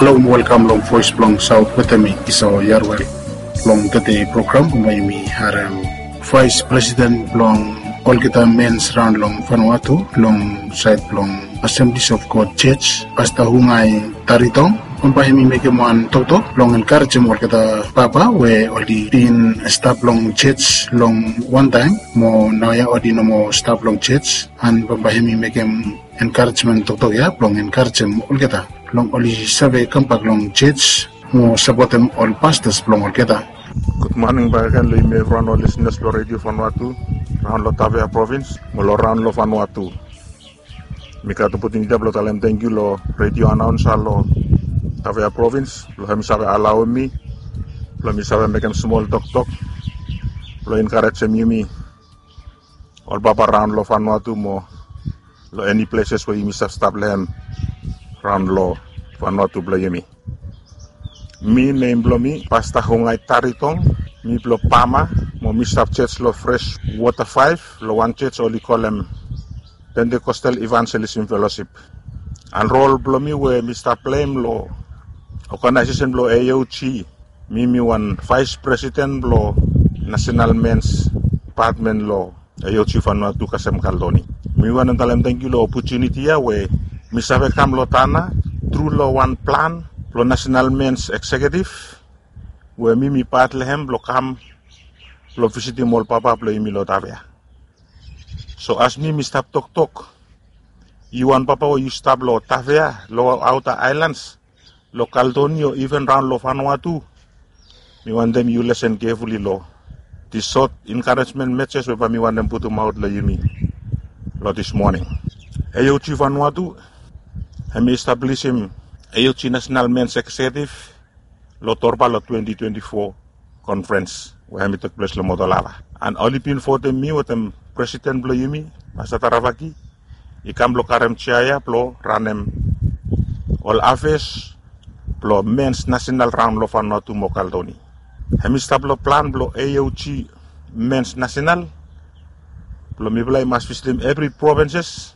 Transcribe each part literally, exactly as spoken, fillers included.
Halo, welkam long Voice blong Saot wetem mi, Esau Yarwel. Long tede program bambae yumi harem Vice President blong olgeta mens raon long Vanuatu long saed blong Assemblies of God Church, Pasta Hungai Taritong. Bambae yumi mekem wan toktok blong enkarejem olgeta papa we oli bin stap long church long wantaem, mo naoia oli no moa stap long church. An bambae yumi mekem enkarejemen toktok ya blong enkarejem olgeta blong oli save kambak long church mo sapotem ol pastors blong olgeta. Gud moning bakegen long yumi evriwan ol lisenas blong Redio Vanuatu raon long Tafea Provins mo long raon long Vanuatu. Mi gat opotuniti ya blong talem tangkiu long redio anaonsa long Tafea Provins blong hemi save alaoem mi blong mi save mekem smol toktok blong enkarejem yumi ol papa raon long Vanuatu mo long eni pleses we yumi stap stap long hem raon long Vanuatu blong yumi. Mi, nem blong mi Pasta Hungai Taritong. Mi blong Pama mo mi stap church long Fresh Water Five, long wan church oli kolem Pentecostal Evangelism Fellowship. An rol blong mi we mi stap pleim long oganaesesen blong A O G, mi mi wan vice president blong national mens department long A O G Vanuatu kasem Caldoni. Mi wantem talem tangkiu long opotuniti ya we mi save kam long Tanna tru long wan plan blong national mens executive we mi mi pat long hem blong kam blong visitim ol papa blong yumi long Tafea. So as mi mi stap toktok, yu wan papa we yu stap long Tafea, long outer islands, long Caldoni o iven raon long Vanuatu, mi wantem yu lesen kefuli long dis sot enkarejemen meses we bae mi wantem putumaot long yumi long dis moning. A O G Vanuatu hemi establisim A O G National Mens Executive long Torba long twenty twenty-four conference we hemi tekples long Motolava. An oli bin votem mi wetem presiden blong yumi, Pasta Taravaki, i kam blong karem jea ya blong ranem ol afes blong mens nasenal raon long Vanuatu mo Caldoni. Hemi stap long plan blong A O G mens nasenal blong mifala i mas visitim evri provinses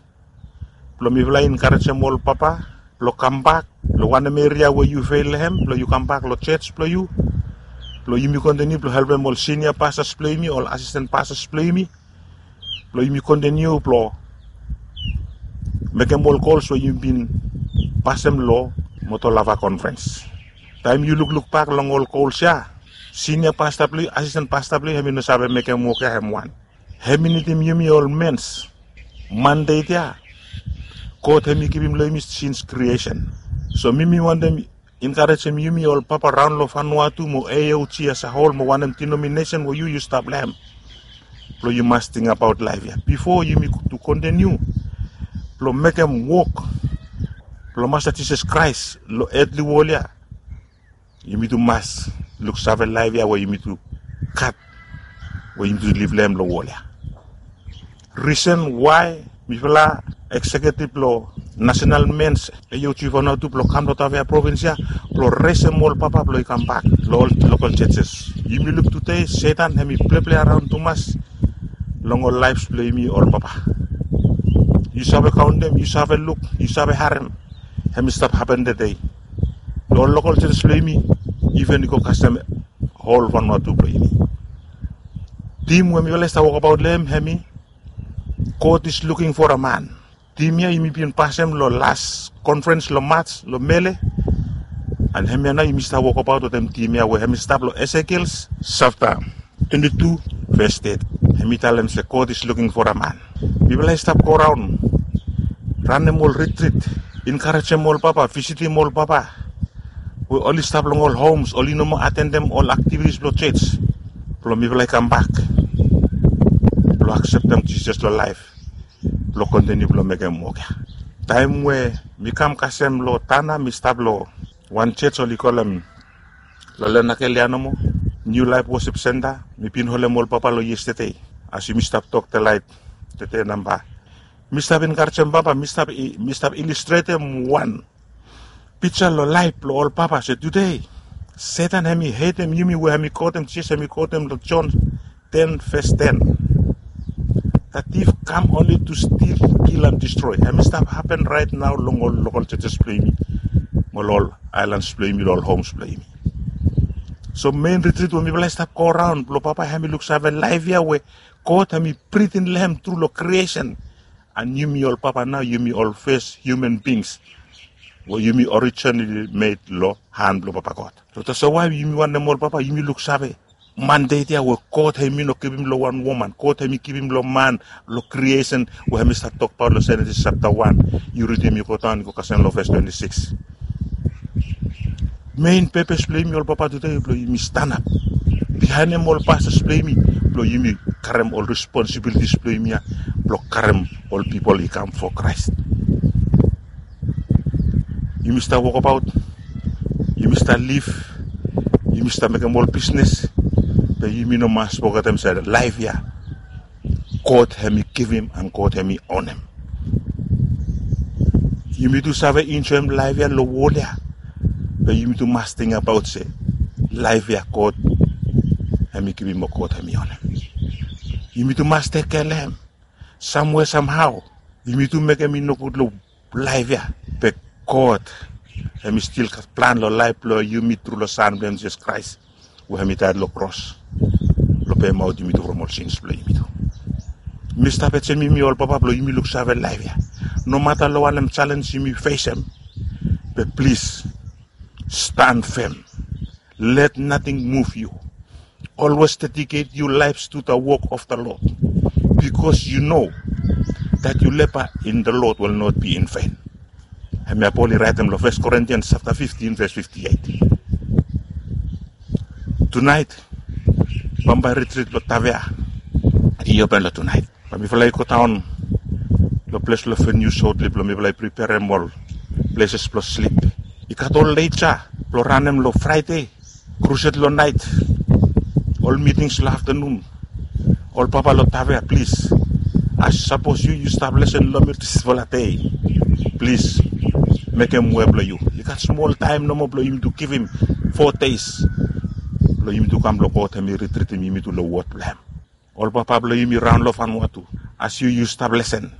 blong mifala i enkarejem ol papa blong kambak long wanem eria we yu feil long hem, blong yu kambak long jos blong yu, blong yumi kontiniu blong helpem ol sinia pastas blong yumi, ol asisten pastas blong yumi, blong yumi kontiniu blong mekem ol gols we yumi bin pasem long Motolava konferens. Taem yu lukluk bak long ol gols ya, sinia pasta blong yu, asisten pasta blong yu, hemi no save mekem wok ya hem wan. Hemi nidim yumi ol mens mandate ya God hemi givim long yumi since creation. So mi mi wantem enkarejem yumi ol papa raon long Vanuatu mo A O G as a whole mo wanem denominesen we yu yu stap long hem, blong yu mas tingbaot laef ya bifo yumi tu kontiniu blong mekem wok blong Masta Jisas Kraes long etli wol ya. Yumi tu mas luksave laef ya we yumi tu gat, we yumi tu liv long hem long wol ya. Risen wae mifala eksekiutiv blong Nasenal Mens A O G Vanuatu blong kam long Tafea provins ya blong resem ol papa blong i kambak long ol lokal jejes. Yumi luk tude Setan hemi pleple raon tumas long ol laefs blong yumi ol papa. Yu save kaontem, yu save luk, yu save harem, hemi stap hapen tude long ol lokal jejes blong yumi, iven i go kasem hol Vanuatu blong yumi. Tim we mifala i stap wokbaot long hem hemi God is looking for a man. Tim ya yumi bin pasem long las konferens long Maj long Mele. An hemia nao yumi stap wokbaot wetem tim ya we hemi stap long Esekiel sapta twenti tu ves teti. Hemi talem se God is looking for a man. Mifala i stap goraon, ranem ol ritrit, enkarejem ol papa, visitim ol papa we oli stap long ol homs, oli no moa atendem ol aktivitis blong jos, blong mifala i kambak blong akseptem Jisas long laef blong kontiniu blong mekem wok ya. Taem we mi kam kasem long Tanna, mi stap long wan jos oli kolem long Lenakel ya nomo, Niu Laef Wosip Senta. Mi bin holem ol papa long yestede, as yumi stap tok delaet tude namba. Mi stap enkarejem papa, mi stap i- mi stap ilustretem wan pija long laef blong ol papa se tude Setan hemi hetem yumi we hemi kotem Jisas, hemi kotem long Jon ten ves ten. The thief come only to steal, kill and destroy. Hemi stap hapen raet nao long ol lokal jejes blong yumi. mo long ol aelans blong yumi, long ol homs blong yumi. So mein ritrit we mifala i stap go raon blong Papa hemi luksave laef ya we God hemi britin long hem tru long kriesen. And yumi ol papa nao, yumi ol fes hiuman bings we yumi orijinali med long han blong Papa God. So tasol wae yumi wantem ol papa yumi luksave mandate ya we God hemi no givim long wan woman, God hemi givim long man, long kriesen we hemi stap tokbaot long Jenesis japta wan. Yu ridim, yu godaon, yu go kasem long ves twenti sikis. Mein pepes blong yumi ol papa tude blong yumi stanap bihaenem ol pastas blong yumi, blong yumi karem ol responsibilitis blong yumi ya, blong karem ol pipol i kam fo Kraes. Yumi stap wokbaot, yumi stap liv, yumi stap mekem ol bisnes, be yumi no mas fogetem se laef ya God hemi givim and God hemi onem. Yumi tu save enjoem laef ya long wol ya, be yumi tu mas tingbaot se laef ya God hemi givim mo God hemi onem. Yumi tu mas tekem kea long hem samwea samhao. Yumi tu mekem i nogud long laef ya, be God hemi stil gat plan long laef blong yumi tru long San blong hem Jisas Kraes we hemi daet long kros blong pemaot yumi tu from ol sins blong yumi tu. Mi stap ajem yumi ol papa blong yumi luksave laef ya, nomata long wanem jalenj yumi fesem, be plis stan fem. Let nothing move you. Always dedicate your lives to the work of the Lord, because you know that your labor in the Lord will not be in vain. Hemia Pol i raetem long First Corinthians chapter fifteen, verse fifty-eight. Tunaet bambae ritrit blong Tavea i open long tunaet. Bae mifala i godaon long ples blong venue shortly blong mifala i preperem ol places blong slip. I gat ol leit ya blong ranem long Fraede, crusade long naet, ol mitings long aftanun. Ol papa long Tavea, plis, as sapos yu yu stap lesen long mi disfala dei, plis mekem we blong yu i gat smol taem nomo blong yumitu givim fo deis blong yumitu kam long God hemi ritritim yumitu long wod blong hem. Ol papa blong yumi raon long Vanuatu, as yu yu stap lesen,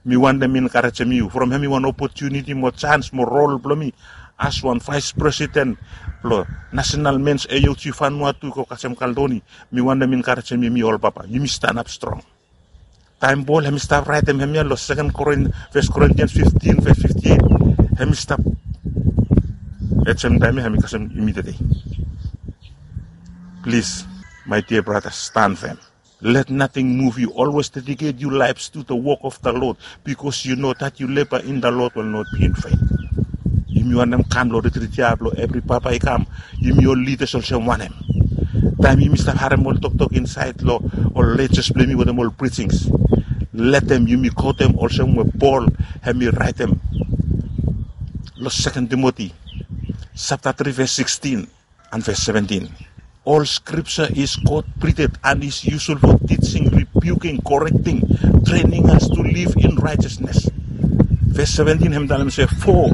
mi wantem enkarejem yu from hemi wan opotuniti mo jaens mo rol blong mi as wan vaes presiden blong Nasenal Mens A O G Vanuatu i go kasem Kaldoni. Mi wantem enkarejem yumi ol papa, yumi stanap strong. Taem Pol hemi stap raetem hemia long Seken Korin, First Corinthians fifteen, verse fifty-eight, hemi stap ajem taem ya hemi kasem yumi tede. Plis, my dear brothers, stand firm. Let nothing move you. Always dedicate your lives to the work of the Lord, because you know that your labor in the Lord will not be in vain. Yumi wantem kam long retrit ya blong evri papa i kam, yumi ol lidas olsem wanem? Taem yumi stap harem ol toktok insaed long ol lejas blong yumi wetem ol prijings, letem yumi kotem olsem we Pol hemi raetem long Seken Timoti chapter three, verse sixteen and verse seventeen. All scripture is God breathed and is useful for teaching, rebuking, correcting, training us to live in righteousness. Verse seventeen hem talem se, for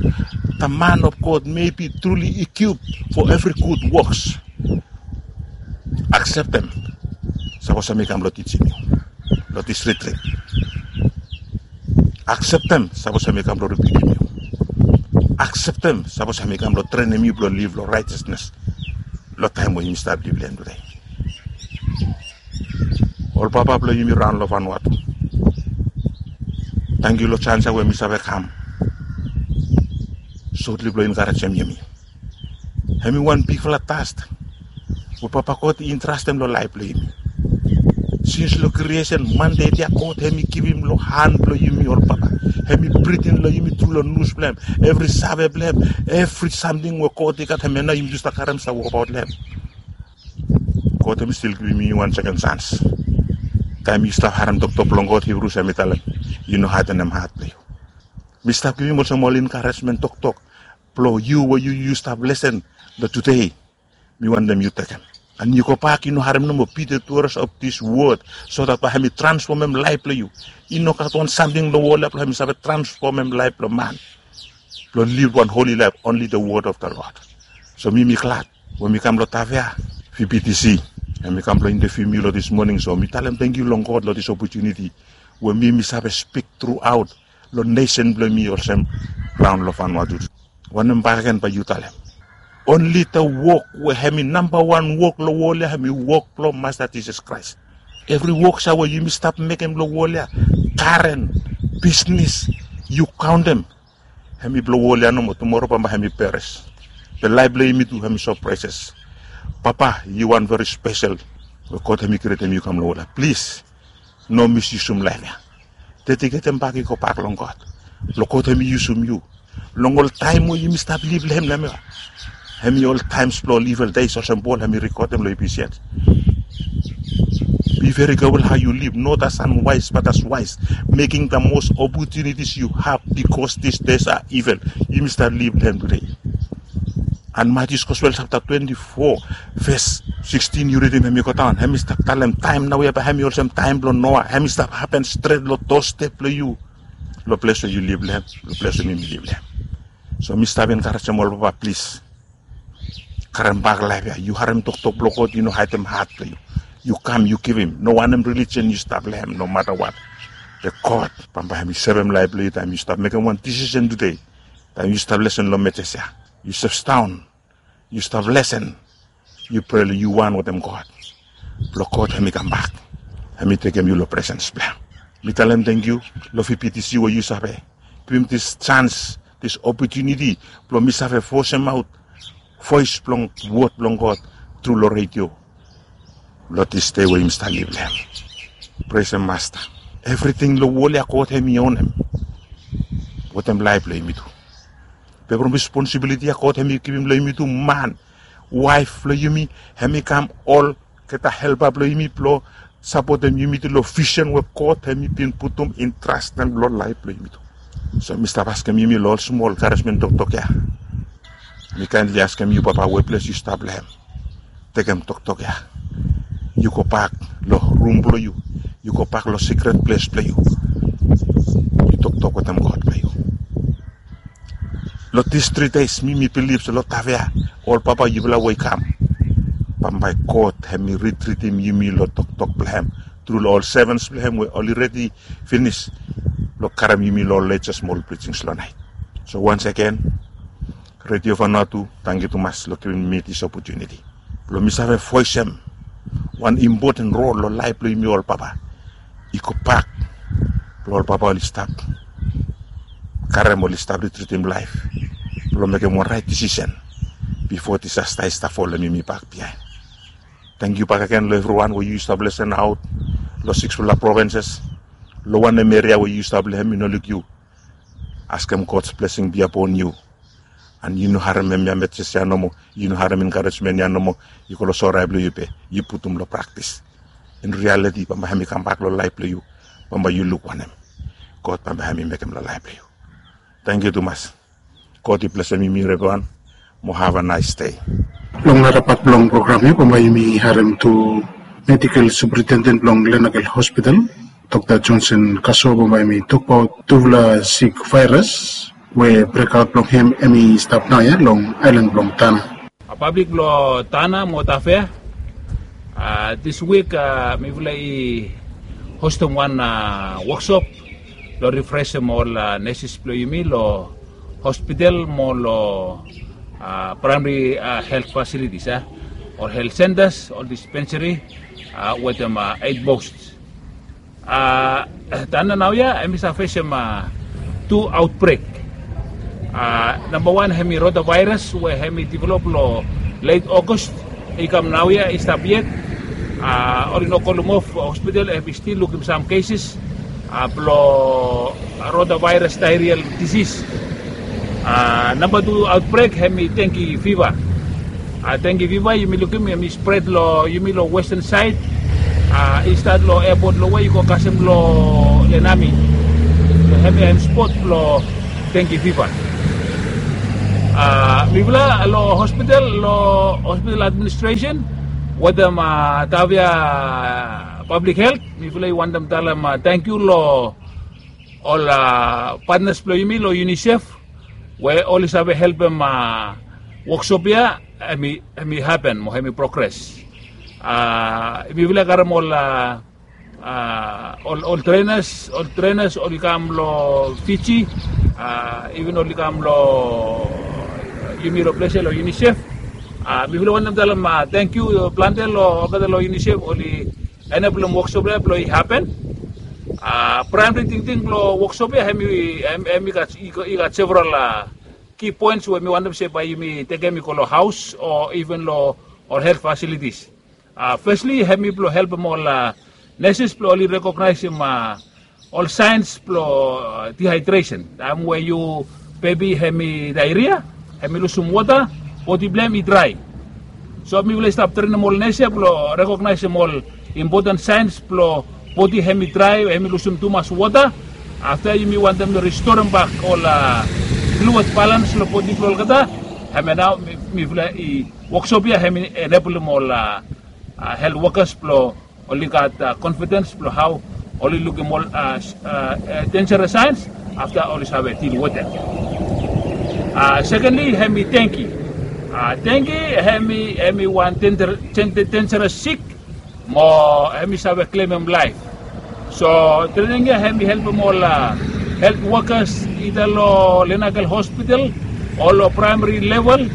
the man of God may be truly equipped for every good works. Akseptem sapos hem i kam blong tijim yu long dis retrit. Akseptem sapos hem i kam blong ribiukim yu. Akseptem sapos hem i kam blong trenem yu blong liv long raetesnes long taem we yumi stap liv long hem tude. Ol papa blong yumi raon long Vanuatu, tangkiu long jaens ya we mi save kam sotli blong enkarejem yumi. Hem i wan bigfala tas we Papa God i entrastem long laef blong yumi. Sins long kriesen, mandate ya God hem i givim long han blong yumi ol papa. Hem i britin long yumi tru long nus blong hem, evri save blong hem, evri samting we God i gat, hemia nao yumi tu stap karem stap wokbaot long hem. God hem i stil givim yumi wan seken jaens. Taem yu stap harem toktok blong God, Hibrus hem i talem, yu no hadenem hat blong yu. Mi stap givim olsem ol enkaresmen toktok blong yu we yu yu stap lesen long tude. Mi wantem yu tekem, and yu gobak, yu no harem nomo, be the doers of this word, so that bae hem i transfomem laef blong yu. I no gat wan samting long wol ya blong hem i save transfomem laef blong man blong liv wan holi laef, only the word of the Lord. So mi mi glad we mi kam long Tavea, V B T C, and mi kam blong inteviu mi long dis moning. So mi talem tangkiu long God long dis opotuniti we mi mi save spik truaot long nesen blong mi olsem raon long Vanuatu. Wanem bakegen bae yu talem? Onli the wok we hemi nambawan wok long wol ya hemi wok blong Masta Jisas Kraes. Evri wok sa we yumi stap mekem long wol ya, garen, bisnis, yu kaontem, hemi blong wol ya nomo, tumora bambae hemi peres. Be laef blong yumi tu hemi so preses. Papa, yu wan veri spesel we God hemi krietem yu kam long wol ya. Plis, no misyusum laef ya. Dediketem bak i gobak long God. Blong God hemi yusum yu. Long ol taem we yumi stap lif long hem, hemi ol taems blong ol evil days olsem Pol hemi rekodem long Ephesians. Be very careful how you live, not as unwise but as wise, making the most opportunities you have, because these days are evil. Yumi stap lif long hem tede. And Matius Gospel chapter twenty-four, verse sixteen, yu ridim, hemi go daon, hemi stap talem taem naoia bae hemi olsem taem blong Noa, hemi stap hapen stret long dostep blong yu, long ples we yu lif long hem, long ples we mi lif long hem. So mi stap enkarejem ol papa, plis, karem bak laef ya. Yu harem toktok blong God, yu no haedem hat blong yu. Yu kam, yu givim. No wanem religion yu stap long hem, no matter what. Be God bambae hemi sevem laef blong yu taem yu stap mekem wan disisen tede. Taem yu stap lesen long meses ya, yu stap daon, yu stap lesen, yu prea long yu wan wetem God, blong God hemi kambak, hemi tekem yu long presens blong hem. Mi talem tangkiu long V B T C we yu save givim dis jans, dis opotuniti blong mi save vosemaot voes blong wod blong God tru long redio long dis dei we yumi stap lif long hem. Presem Masta. Evriting long wol ya God hemi onem wetem laef blong yumi tu. Be from responsibiliti ya God hemi givim long yumi tu, man, waef blong yumi, hemi kam olgeta helpa blong yumi blong sapotem yumi tu long visen we God hemi bin putum intrastem long laef blong yumi tu. So mi stap askem yumi long ol smol enkaresmen toktok ya. Mi kaenli askem yu, Papa, we ples yu stap long hem, tekem toktok ya. Yu gobak long rum blong yu. Yu gobak long sikret ples blong yu. Yu toktok wetem God blong yu. Long dis tri deis mi mi bilif se long Tavea, ol papa yufala we i kam, bambae God hemi ritritim yumi long toktok blong hem tru long ol sevens blong hem we oli redi finis blong karem yumi long ol latest smol preachings long naet. So once again, Radio Vanuatu, tangkiu tumas long givim mi dis opotuniti blong mi save voesem wan impoten rol long laef blong yumi ol papa i gobak blong ol papa oli stap karem, oli stap ritritim laef blong mekem wan raet disisen bifo disasta i stap folem yumi bak biaen. Tangkiu bakegen long evriwan we yu stap lesen aot long siksfala provinses, long wanem eria we yu stap long hem, mi no luk yu. Askem God's blessing be upon you. And yu no harem hemia meses ya nomo, yu no harem enkaresmen ya nomo, yu go long sore ai blong yu be yu putum long praktis. In realiti bambae hemi kambak long laef blong yu, bambae yu luk wanem God bambae hemi mekem long laef blong yu. Tangkiu tumas. God i blesem yumi evriwan. Mo have a nice day. Long nara pat blong program ya bambae yumi harem tu medical superintendent blong Lenakel Hospital, Dokta Johnson Kaso, bambae hemi tokbaot tufala sik vaeras we brekaot blong hem hemi stap naoia long aelan blong Tanna. A pablik blong Tanna mo Tavea, a, dis wik, a, mifala i hostem wan, a, woksop blong rifresem ol, a, neses blong yumi long hospital mo long, a, praemari, a, helt fasilitis, a, ol helt sentas, ol dispensari, a, wetem, a, eit post. A, Tanna naoia hemi save fesem, a, tu aotbrek. A, nambawan hemi rotavirus we hemi develop long let August, i kam naoia, i stap yet. A, oli no kolem of hospital, hemi stil lukim sam keses, a, blong rotavirus diarrheal disease. A, namba tu aotbrek hemi dengue fever. A, dengue fever yumi lukim hemi spred long yumi long western saed. A, i stat long airport long we i go kasem long Lenami. Hemi hem spot blong dengue fever. A, mifala long hospital, long hospital administration wetem, a, Tavea Public Health, mifala i wantem talem, a, tangkiu long ol, a, patnas blong yumi long UNICEF we oli save helpem, a, woksop ya hemi, hemi hapen mo hemi progres. A, mifala i karem ol, a, a, ol, ol trenas, ol trenas oli kam long Fiji, a, iven oli kam long Yumi long ples ya long UNICEF. Mifala wantem talem tangkiu plante long olgeta long UNICEF oli eneblem woksop ya blong i hapen. Praemri tingting blong woksop ya hem i gat several ki poens we mi wantem se bae yumi tekem i go long haos o iven long ol helt fasilitis. Fesli hem i blong helpem ol neses blong oli rekognaesem ol saens blong dihaedresen. Taem we yu bebi hem i daeria, hem i lusum wota, bodi blong hem i drae. So mifala i stap trenem ol nes ya blong rekognaesem ol impoten saens blong bodi hem i drae, hem i lusum tumas wota. Afta yumi wantem ristorem bak ol fluid balans long bodi blong olgeta. Hem ya nao mifala i woksop ya hem i eneblem ol helt wokas blong oli gat konfidens blong hao oli lukim ol denjeres saens afta oli save dil wetem. Sekenli hem i dengki. Dengki hem i wan denjeres sik mo hem i save klemem laef. So trening ya hem i helpem ol helt wokas ida long Lenakel Hospital o long praemari level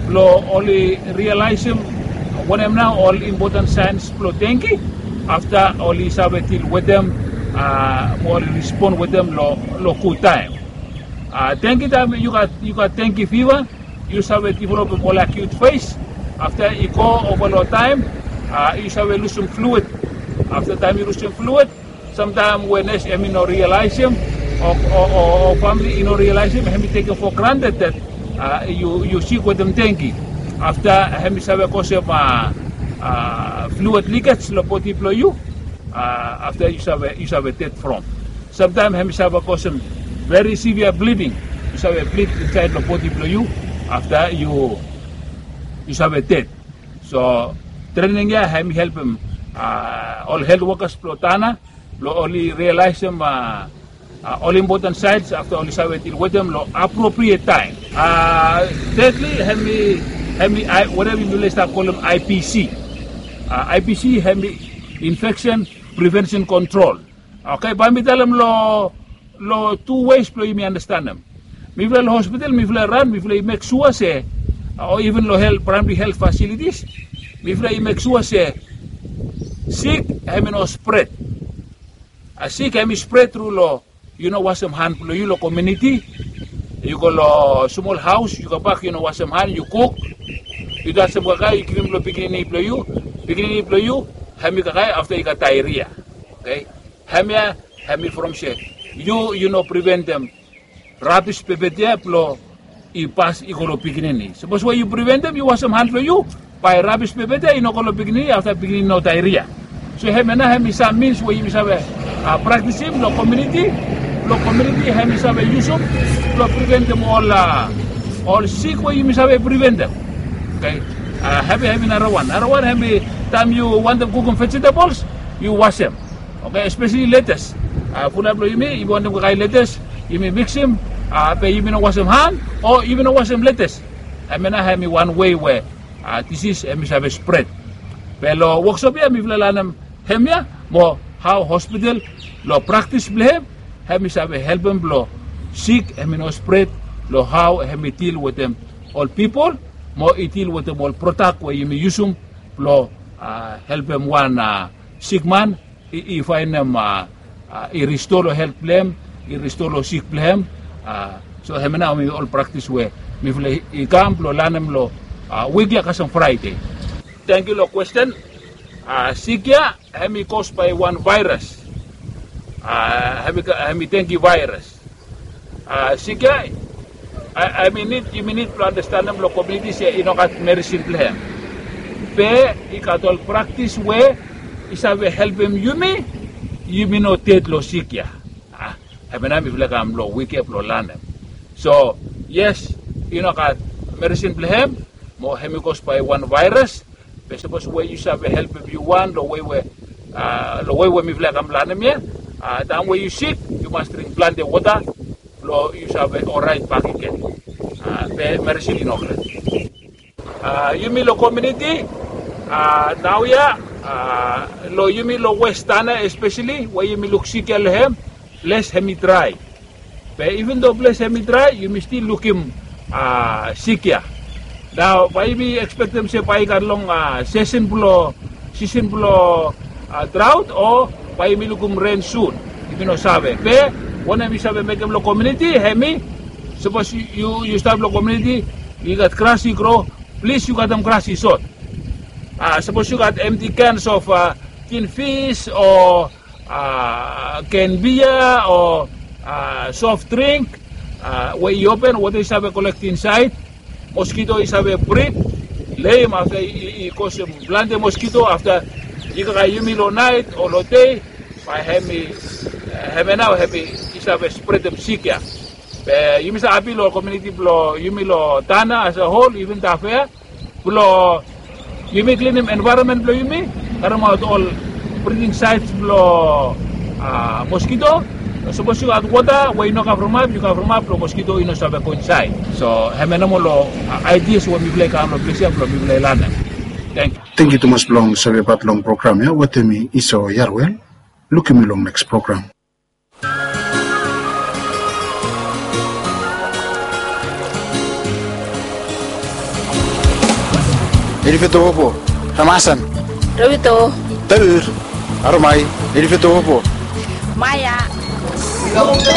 blong oli rialaesem wanem nao ol impoten saens blong dengki. Afta oli save dil wetem mo oli rispon wetem long gud taem. Dengki taem yu gat dengki fiva, yu save developem ol akiut fes. Afta i go ova long taem yu save lusum fluid. Afta taem yu lusum fluid, samtaem we nes hem i no rialaesem o famili i no rialaesem, hem i tekem fo granted dat yu sik wetem dengki. Afta hem i save kosem fluid likej long bodi blong yu. Afta yu save ded from. Samtaem hem i save kosem veri sivia bliding. Yu save blid insaed long bodi blong yu. Afta yu save ded. So trening ya hem i helpem ol helt wokas blong Tana blong oli rialaesem ol impoten saens afta oli save dil wetem long apropriet taem. Tedli hem i wanem yumi les stap kolem IPC. IPC hem i infeksen prevensen kontrol. Oke, bae mi talem long tu weis blong yumi andastanem. Mifala long hospital mifala ran mifala i mek sua se o iven long praemari helt fasilitis mifala i mek sua se sik hem i no spret. Sik hem i spret tru long yu no wasem han blong yu long komiuniti. Yu go long smol haos yu kambak yu no wasem han yu kuk, yu tasem kakae yu givim long pikinini blong yu. Pikinini blong yu hem i kakae afta i gat daeria. Oke, hemia hem i from se yu yu no priventem rabis pepet ya blong i pas i go long pikinini. Sapos we yu priventem yu wasem han blong yu, bae rabis pepet ya i no go long pikinini afta pikinini no daeria. So hemia nao hem i sam mins we yumi save praktisim long komiuniti. Long komiuniti hem i save yusum blong priventem ol ol sik we yumi save priventem. Oke, hemia hem i narawan narawan hem i taem yu wantem kukum vejetabols yu wasem. Oke, espeseli letes. Fulap long yumi yumi wantem kakae letes yumi miksim, be yumi no wasem han o yumi no wasem letes. Hemia nao hem i wan wei we disis hem i save spret. Be long woksop ya mifala lanem hemia mo hao hospital long praktis blong hem hem i save helpem blong sik hem i no spret, long hao hem i dil wetem ol pipol mo i dil wetem ol prodak we yumi yusum blong helpem wan sikman i faenem i risto long helt blong hem, i risto long sik blong hem. So hemia nao hem i ol praktis we mifala i kam blong lanem long wik ya kasem Fraede. Tangkiu long kwesten. Sik ya hem i kos bae wan vaeras. Hem i dengki vaeras. Sik ya hem i nid yumi nid blong andastanem long komiuniti se i no gat meresin blong hem. Be i gat ol praktis we i save helpem yumi yumi no ded long sik ya. Hemia nao mifala kam long wik ya blong lanem. So yes, i no gat meresin blong hem mo hem i kos bae wan vaeras. Be sapos we yu save helpem yu wan long wei we long wei we mifala i kam lanem ya, taem we yu sik yu mas dring plante wota blong yu save oraet bakegen. Be meresin i no gat. Yumi long komiuniti naoia long yumi long wes Tana espeseli we yumi luk sik ya long hem, ples hem i drae. Be iven do ples hem i drae yumi stil lukim sik ya. Nao bae yumi ekspektem se bae i gat long sisen blong sisen blong draot o bae yumi lukim ren sun. Yumi no save be wanem yu save mekem long komiuniti hemi sapos yu stap long komiuniti i gat gras i gro, plis yu gatem gras i sot. Sapos yu gat emti kens of tin fis o ken bia o sof dring we i open wota i save kolekti insaed. Moskito i save brit leim afta i kosem plante moskito afta i kaka yumi long naet o long dei bae hemi hemia nao hemi i save spretem sik ya. Be yumi save apil long komiuniti blong yumi long tana as a hol even tafea blong yumi klinim envaeronmen blong yumi karemaot ol briting saets blong moskito. Sapos yu gat wota we i no kavremap yu kavremap blong moskito i no save go insaed. So hemia nomo long aidias we mipela i kam long ples ya blong mipela i lanem. Tengkiu. Tengkiu tumas blong savebat long program ya wetem mi iso yarwel. Lukim yu long neks program. Elifeto opo. Ramasan. Ravito. Taur. Aromai. Elifeto opo. Maya.